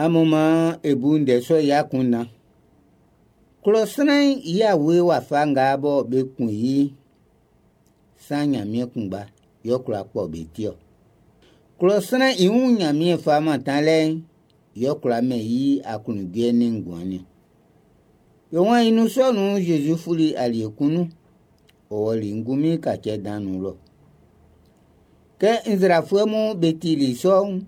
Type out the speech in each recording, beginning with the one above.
Amun maan e bu ndɛ sɔ'n i akunndan. Klɔ sran'n i awe wafa nga bɔ be kun i'n, san Ɲanmiɛn kunngba yɛ ɔ kwla kpɔ be ti ɔ. Klɔ sran'n i wun Ɲanmiɛn fa mantanlɛ'n yɛ ɔ kwla mɛn i aklunjuɛ nin nguan'n niɔn. Be waan i nun sɔ nun'n, Zezi fuli alie kun nun, ɔ wɔli ngunmin kacɛ dan'n nun lɔ. Kɛ nzrafuɛ mun be tili sɔ'n,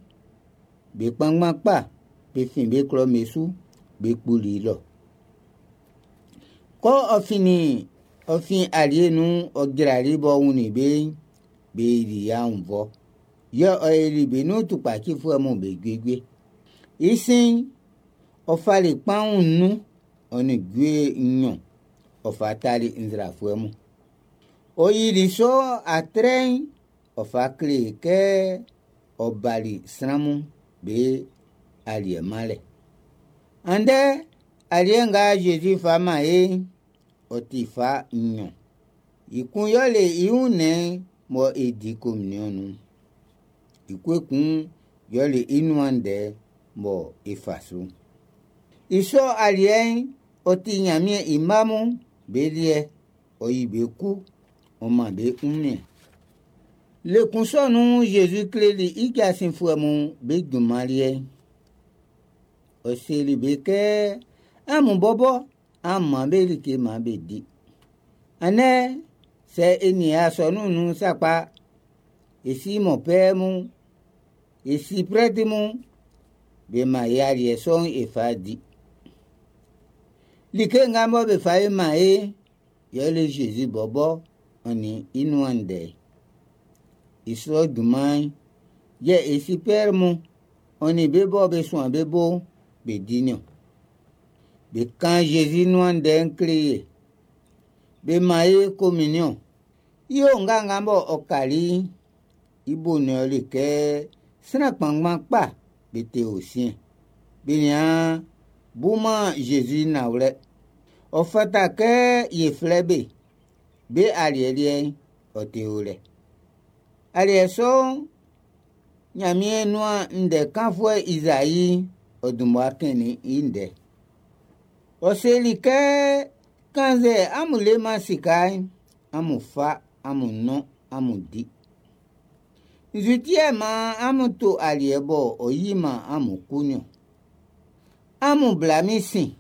be kpanngban kpa be fin be klɔ'm be su be kpuli lɔ. Kɛ ɔ finnin ɔ fin alie nun ɔ jrali b'ɔ wunnin be'n, be yili i aunnvɔ. Yɛ ɔ yoli be nun tukpacifuɛ mun be juejue. I sin'n, ɔ fali kpanwun nnun ɔ nin jue nɲɔn ɔ fa tali nzrafuɛ mun. Ɔ yili sɔ atrɛ'n ɔ fa kle kɛ ɔ bali sran mun be aliɛ manlɛ. Andɛ aliɛ nga Zezi fa man e'n, ɔ ti fa nɲɔn. I kun yɛle i wunnɛn'n mɔ e di kominɲɔn nun'n. I kun ekun yɛle i nuan ndɛ mɔ e fa su'n. I sɔ aliɛ'n, ɔ ti Ɲanmiɛn i mma mun be liɛ, ɔ yi be ku, ɔ man be wunmiɛn. Le kun sɔ nun'n, Zezi kleli i jasinfuɛ mun be junman liɛ'n. Ɔ seli be kɛ, Amun bɔbɔ an man be like maan be di. Andɛ, sɛ e nian asɔnun'n nun sakpa, e si mɔnpɛɛ mun, e si prɛti mun, be man e aliɛ sɔ'n e fa di. Like nga mɔ be fa e man e'n, yɛle Zezi bɔbɔ ɔ nin i nuan ndɛ'n. I sɔ junman'n, yɛ e si Pɛr mun, ɔ nin be bɔ be suan be bo'n, be di niɔn. Be kan Zezi nuan ndɛ'n kle ye. Be man e kominiɔn. I onga nga bɔ ɔ kali'n, i bo'n yɛle kɛ sran kpanngban kpa be te o siɛn. Be nian buman Zezi nanwlɛ. Ɔ fata kɛ ye flɛ be. Be aliɛ liɛ'n, ɔ te o lɛ. Aliɛ sɔ'n, Ɲanmiɛn nuan ndɛ kanfuɛ Izai ɔ dun mmua kɛnnin i ndɛ. Ɔ seli kɛ, kannzɛ amun leman sika'n, amun fa, amun nɔn, amun di. Nzu ti yɛ maan amun to aliɛ bɔ ɔ yiman amun ku niɔn? Amun bla min sin.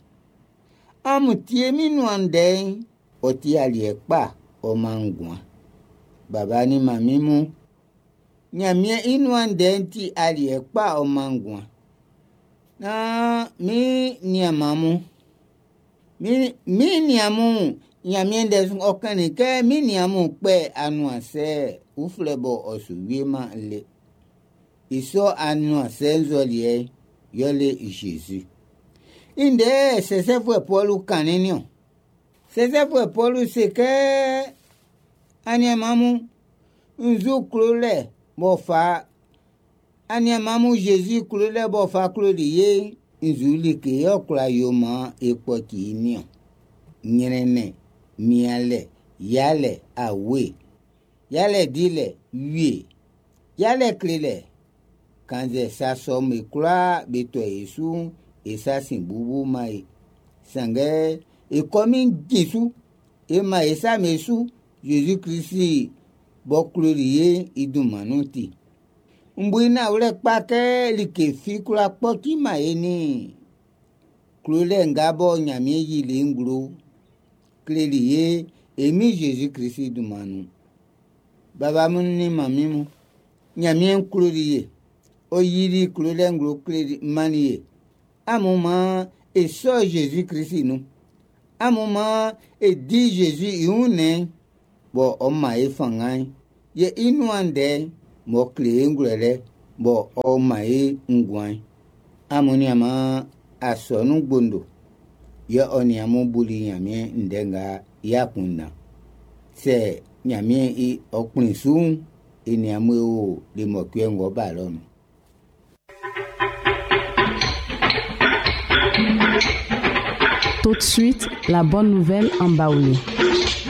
Amun tie min nuan ndɛ'n, ɔ ti aliɛ kpa, ɔ man nguan. Baba nin manmin mun, Ɲanmiɛn i nuan ndɛ'n ti aliɛ kpa ɔ man nguan. Naan min nianman mun, min, min nian mun, Ɲanmiɛn ndɛ ɔ kannin kɛ min nian mun kpɛ anuansɛ uflɛ bɔ ɔ su wieman le. I sɔ anuansɛ nzɔliɛ'n yɛle Zezi. I ndɛ sɛsɛfuɛ Pɔlu kannin'n niɔn. Sɛsɛfuɛ Pɔlu se kɛ, Aniaanman mun, nzu klolɛ b'ɔ fa aniaanman mun Zezi klolɛ b'ɔ fa kloli ye'n, nzu like yɛ ɔ kwla yo maan e kpɔci i niɔn? Ɲrɛnnɛn, mianlɛ, yalɛ, awe, yalɛ dilɛ, wie, yalɛ klelɛ. Kannzɛ sa sɔ'm be kwlaa be tɔ e su'n, e sa sin bubuman e. Sanngɛ e kɔmin jin su, e man e sa me su Zezi Klisi b'ɔ kloli ye'n i dunman nun ti. N bu i nanwlɛ kpa kɛ like fi kwlá kpɔciman e nin klolɛ nga bɔ Ɲanmiɛn yili i nglo kleli ye e Min Zezi Klisi dunman nun. Baba mun nin manmin mun, Ɲanmiɛn kloli ye. Ɔ yili klolɛ nglo kleli mannin ye. Amun maan e sɔ Zezi Klisi nun. Amun maan e di Zezi i wunnɛn'n bɔ ɔ man e fanngan'n, yɛ i nuan ndɛ'n m'ɔ kle e ngwlɛlɛ bɔ ɔ man e nguan'n. Amun nianman asɔnun gbondo, yɛ ɔ nin amun buli Ɲanmiɛn ndɛ nga i akunndan. Sɛ Ɲanmiɛn i ɔ kplin su'n, e nin amun e o le mɔcuɛ ng'ɔ ba lɔ'n nun. Tout de suite, la bonne nouvelle en Baoulé.